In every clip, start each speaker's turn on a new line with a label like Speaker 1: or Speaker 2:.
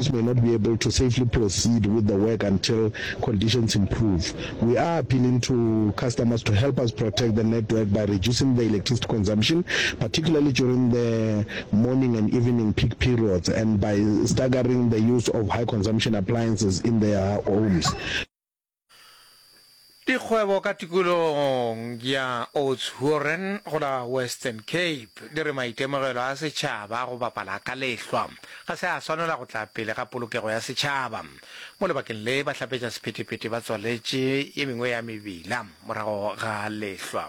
Speaker 1: crews may not be able to safely proceed with the work until conditions improve. We are appealing to customers to help us protect the network by reducing the electricity consumption, particularly during the morning and evening peak periods, and by staggering the use of high consumption appliances in their homes.
Speaker 2: Dikgwebo ka tikologong ya Oudtshoorn go la Western Cape di re maitemogelo a setšhaba a go bapala ka lehlwa ga se a swanela go tla pele ga polokego ya setšhaba. Mo lebakeng le bahlapetša sephethephethe ba tswaletše ye mengwe ya mebila morago ga lehlwa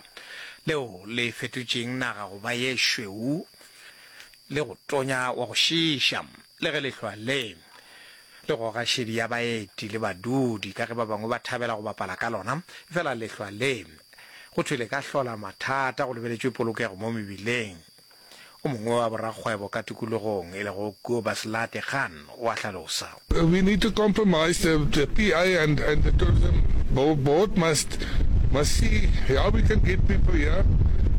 Speaker 2: leo le fetotšeng naga go ba ye šweu le go tonya wa go šiiša. Le ge lehlwa le le goga šedi ya baeti le badudi ka ge ba bangwe ba thabela go bapala ka lona, efela lehlwa le go thwe le ka hlola mathata go lebeletšwe polokego mo mebileng. O mongwe wa borakgwebo ka tikologong e lego Kobus Lategan o a hlalosa.
Speaker 3: We need to compromise, the, the PA and, and the tourism board must, must see how we can get people here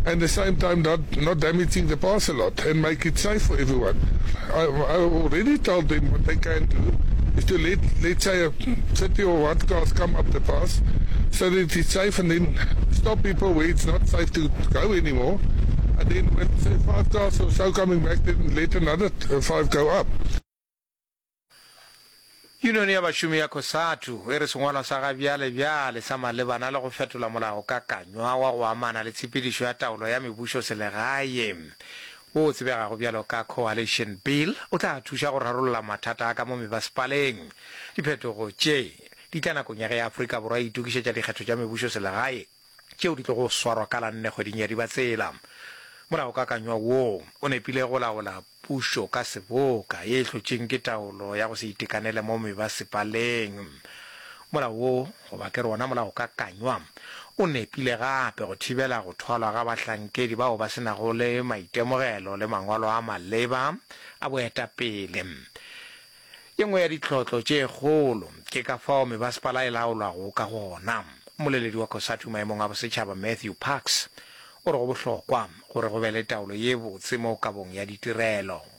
Speaker 3: and the same time not, not damaging the pass a lot and make it safe for everyone. I, I already told them what they can do is to let, let's say, a 30 or what cars come up the pass so that it's safe and then stop people where it's not safe to go anymore. And then when, say, five cars or so coming back, then let another five go up.
Speaker 2: Yunione ya bašomi ya Cosatu e re sengwalwa sa ga bjale bjale sa malebana le go fetola molaokakanywa wa go amana le tshepedišo ya taolo ya mebušoselegae wo o tsebegago bjalo ka Coalition Bill o tla thuša go rarolla mathata a ka mo mebasepaleng. Diphetogo tše di tla nakong ya ge Afrika Borwa e itokišetša dikgetho tša mebušoselegae tšeo di tlogo swarwa ka la nne kgweding ya Dibatsela. Molaokakanywa wo o nepile go laola pušo ka seboka ye e hlotšeng ke taolo ya go se itekanele mo mebasepaleng. Molao wo, goba ke re wona molaokakanywa, o nepile gape go thibela go thwalwa ga bahlankedi bao ba se nago le maitemogelo le mangwalo a maleba a boetapele. Ye nngwe ya ditlhotlo tše kgolo ke ka fao mebasepala e laolwago ka gona. Mmoleledi wa Cosatu maemong a bosetšhaba Matthew Parks o re go bohlokwa gore go be le taolo ye botse mo kabong ya ditirelo.